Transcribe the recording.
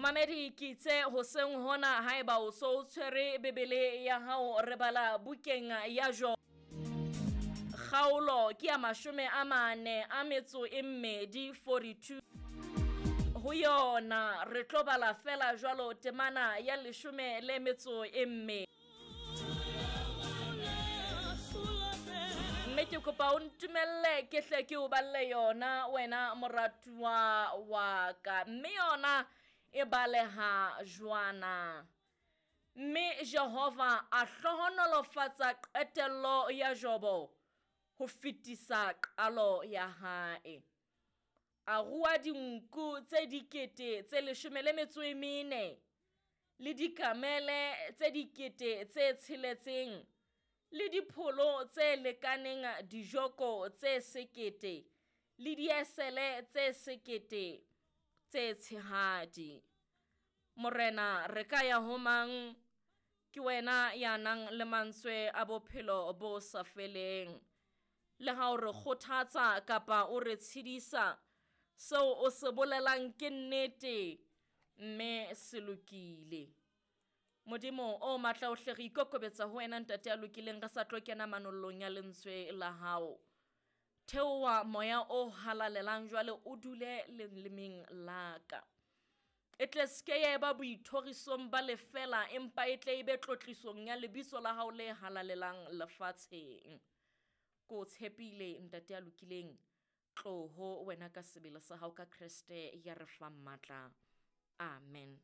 Momamedi ke itse hoseng hona haeba o so o tshwere Bibele ya hao re bala bukeng ya Jo kgaolo ke ya 42 42 ho yona re tlo bala fela jwalo temana ya 12. Mme ke kopa o ntumelle ke hle ke o balle yona wena moratuwa wa ka, mme yona e baleha jwana. Mme Jehova a hlohonolofatsa qetello ya Jobo ho fetisa qalo ya hae. A rua dinku tse 14,000 le dikamele tse 6,000 le dipholo tse lekaneng dijoko tse 1,000 le diesele tse 1,000 tse tshehadi. Morena re ka ya ho mang? Ke wena ya nang le mantswe a bophelo bo sa feleng. Le ha o re kgothatsa kapa o re tshedisa, seo o se bolelang ke nnete mme se lokile. Modimo o matla ohle, re ikokobetsa ho wena ntate ya lokileng, re sa tlo kena manollong ya lentswe la hao. Theoha moya o halalelang jwale o dule lelemeng la ka. E tle seke ya eba boithorisong ba lefela, empa e tle e be tlotlisong ya lebitso la hao le halalelang lefatsheng. Ko tshepile ntate ya lokileng, tloho wena ka sebele sa hao ka Kreste ya re fang matla. Amen.